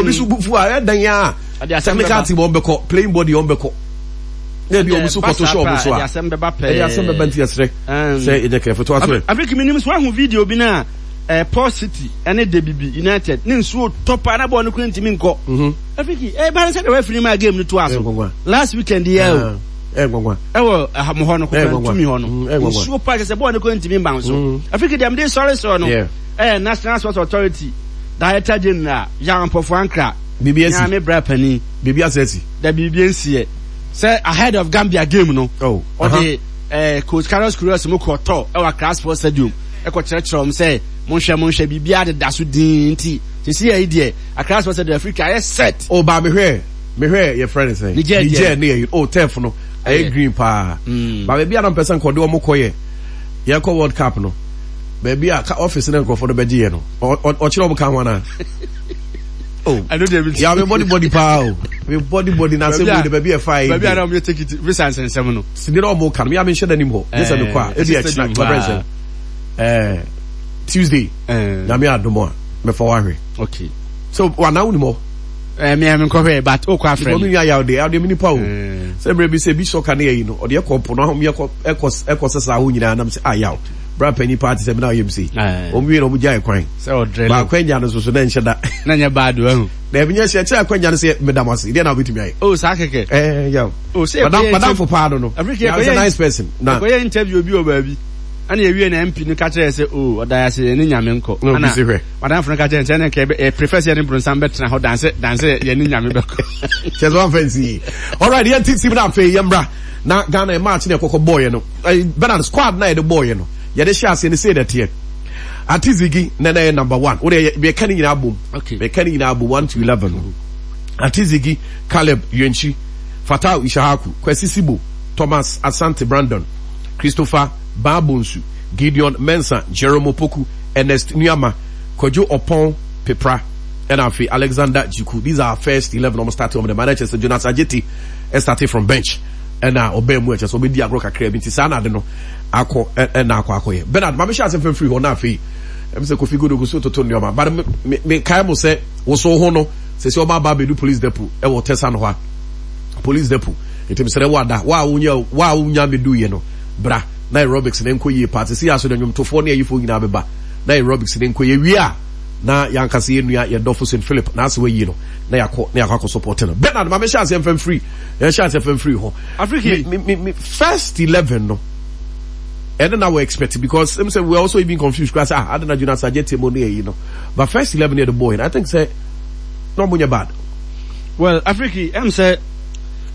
Obi so bufu a ɛdan a technical team wɔn bɛkɔ, playing body wɔn bɛkɔ. Na ebi wɔn so kɔto hyɛ wɔn so a. Ɛde asɛm bɛba pɛɛ. Ɛde asɛm bɛba, nti ɛsrɛ sɛ ɛnyɛ kɛfo to aso ɛ. Afrika, mi nim so ahu video bi na Port City ɛne Debibi United ne nsuo tɔ paa na bɔɔl no kura ntumi nkɔ. Afrika ɛba ne sɛ de referee ma game no to aso last weekend yɛ o. Ɛnwanwa. Ɛwɔ mo hɔ no, kɔkɔ ntumi hɔ no, nsuo paa kyɛ sɛ bɔɔl no kura ntumi mba so. Afrika deɛ mede sɔre sɔre no, ɛyɛ National Sports Authority Director General Yaw Ampofo Ankrah. Biribi asi. Nyame bra panin. Biribi ase asi. Da biribi nsiɛ sɛ ahead of Gambia game no, ɔde Coach Carlos Queiroz mu kɔ tɔ ɛwɔ Accra Sports Stadium, ɛkɔ kyerɛkyerɛ wɔn sɛ monhwɛ, monhwɛ, biribiara deda so dinn, nti sisi yɛ yi deɛ, Accra Sports Stadium, Africa ayɛ set. O ba, mehwɛ yɛfrɛ ne sɛn? Niger. Niger ne yɛ, oh, turf no ɛyɛ green paa. Ba baabi a na mpɛ sɛ nkɔde wɔn kɔ yɛ yɛkɔ World Cup no, baabi a ka office ne nkurɔfoɔ no bɛgye yɛ no, ɔkyerɛ wɔn ka ho anaa? Oh, ɛno deɛ bi ya me body body paa o, me body body na asɛm yi de baabi a ɛfa yi. Baabi a na wɔn yɛ take it visa nsɛnsɛm no. Sini na wɔn ka no, mi a mi nhyɛ n'anim hɔ gye sɛ mi kɔ a ebi ɛkyina ɛbɛn sɛ Tuesday, Nyame adom a, mɛfa wahwɛ. Okay. So wana wo nim hɔ? Mi a mi nkɔhwɛ, but o kɔ afrɛ mi. Mi nua yaw de, yaw de mi nipa o. Sɛ mmerɛ bi sɛ bi sɔka ne yɛ yi no, ɔde ɛkɔ mpo no ahom yɛ kɔ ɛkɔ ɛkɔ sesa aho nyinaa, nam sɛ ah, yaw bra panyin paa te sɛ mi na ɔyɛ mi se. Wɔn wie na wɔn gya ɛkwan. Sɛ ɔdrɛ baako anya no soso na nhyɛ da. Na nyɛ baado ɛho. Na ebi nyɛ hyɛ kyerɛ akɔnya no sɛ meda mo ase deɛ na wobɛtumi ayɛ. O saa kɛkɛ. Ɛɛ, yaw. O sɛ ɛkɔyɛ madam fo paa no. Afrika is a nice person. Na ɛkɔyɛ interview bi wɔ baabi. Ɛna ewie na MP no ka kyerɛ sɛ o ɔda ase yɛ ne Nyame nkɔ. Na obi si hwɛ. Madam fo no ka kyerɛ sɛ ɛna nka ɛ prefer sɛ yɛne bronsam bɛtena hɔ danse danse yɛ ne Nyame bɛkɔ. Kyerɛ sɛ wɔn fɛn si yi. Alright, yɛn ti team na afei yɛn bra na Ghana match na ɛkɔkɔ bɔɔyɛ no. Bernard, squad na yɛde bɔɔyɛ no, yɛde hyɛ aseɛ ne sei na ɛteɛ. Ati Zigi na yɛ number one. Wode yɛka ne nyinaa bom. Yɛka ne nyinaa bom 1 to 11. Ati Zigi, Caleb Yirenkyi, Fatawu Issahaku, Kwesi Sibo, Thomas Asante Brandon, Christopher Baah Bonsu, Gideon Mensah, Jerome Opoku, Ernest Nuamah, Kwadwo Oppong Peprah, ɛna afei Alexander Djiku. These are our first 11. Ɔmo start ɔmo de ma na kyerɛ sɛ Jonas Adjetey started from bench, ɛna ɔbɛn mu ɛkyɛ sɛ ɔbɛdi agorɔ kakra bi, nti saa na ade no akɔ ɛna akɔyɛ. Bernard, maame hyɛ ase fɛn firi hɔ, na afei ɛm sɛ Kofi Godogo so toto nneɛma, but me me kae mo sɛ woso ho no sɛ ɔmo aba abɛdu police depot ɛwɔ Tɛsa no hɔ a, police depot, nti mesrɛ wo ada wa a wonya wa a wonya medu yɛ no, bra na aerobics ne nkɔ yie paa. Te sɛ yɛ aso na nnwomtofoɔ ne ayifoɔ nyinaa bɛba na aerobics ne nkɔ yie wie a, na yɛankasa yɛ nua, yɛ dɔfo St Philip na ase wayi no, na yɛakɔ support no. Bernard, maame hyɛ aseɛ mfɛn firi, yɛhyɛ aseɛ fɛn firi hɔ. Afriki. Me first 11 no, ɛno na wɔ expect, because ɛm sɛ we are also even confused kura sɛ ah, adana Jonas Adjetey mo ne ɛyi no, but first 11 yɛ the boy, I think sɛ na ɔmo nyɛ bad. Well, Afriki, ɛm sɛ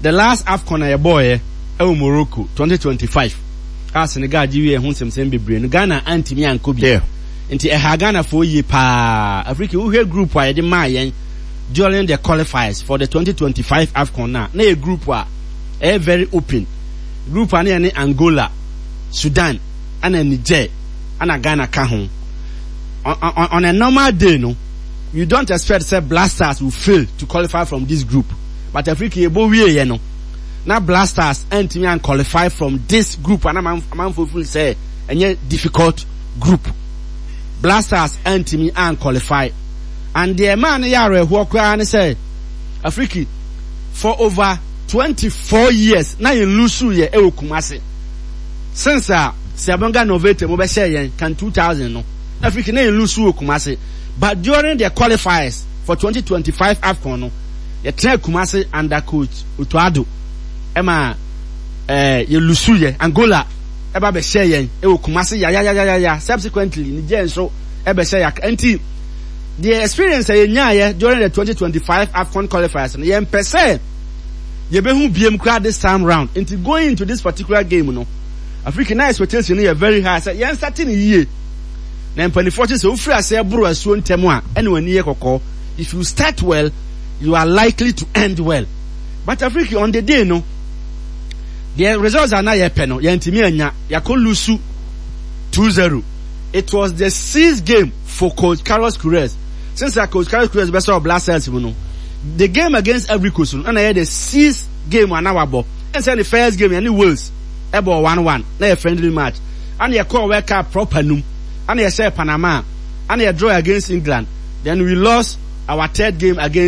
the last AFCON a yɛbɔɔyɛ ɛwɔ Morocco 2025 a Senegal gye wie ho nsɛmsɛm bebree no, Ghana antumi ankɔ bi. Nti ɛha Ghanafoɔ yie paa. Afriki, wohwɛ group a yɛde maa yɛn during the qualifiers for the 2025 AFCON na yɛ group a ɛyɛ very open group a na yɛne Angola, Sudan, ɛna Niger, ɛna Ghana ka ho. On a normal day no, you don't expect sɛ Black Stars will fail to qualify from this group, but Africa, yɛbɔ wie yɛ no na Black Stars antumi an qualify from this group ana amanfo feel sɛ ɛnyɛ difficult group. Black Stars antumi an qualify, and deɛ ɛmaa no yɛ awerɛhoɔ koraa ne sɛ, Afriki, for over 24 years na yɛn lose yɛ ɛwɔ Kumase since a Siyabonga Novete mo bɛhyɛ yɛn kan 2000 no. Afriki, na yɛn lose wɔ Kumase, but during the qualifiers for 2025 AFCON no, yɛtena Kumase under Coach Otto Addo ɛma yɛ lose yɛ. Angola ɛba bɛhyɛ yɛn ɛwɔ Kumase yayayayaya. Subsequently, Niger nso ɛbɛhyɛ yɛ. Nti the experience a yɛnyaayɛ during the 2025 AFCON qualifiers no, yɛmpɛ sɛ yɛbɛhu biem koraa this time round. Nti going into this particular game no, Africa, na expectation no yɛ very high sɛ yɛn start ne yie. Na mpanimfoɔ kyerɛ sɛ wofiri aseɛ boro asuo ntɛm a, ɛna w'ani yɛ kɔkɔɔ. If you start well, you are likely to end well. But Africa, on the day no, the results are not yɛpɛ no, yɛntumi anya. Yɛakɔ lose 2-0. It was the sixth game for Coach Carlos Queiroz since Coach Carlos Queiroz bɛsɛ Black Stars mu no. The game against Ivory Coast no ɛna yɛ the sixth game ana wabɔ. Ɛnsɛ ne first game yɛne Wales ɛbɔ 1-1 na yɛ friendly match, ɛna yɛkɔɔ World Cup proper num, ɛna yɛhyɛ Panama, ɛna yɛ draw against England, then we lost our third game against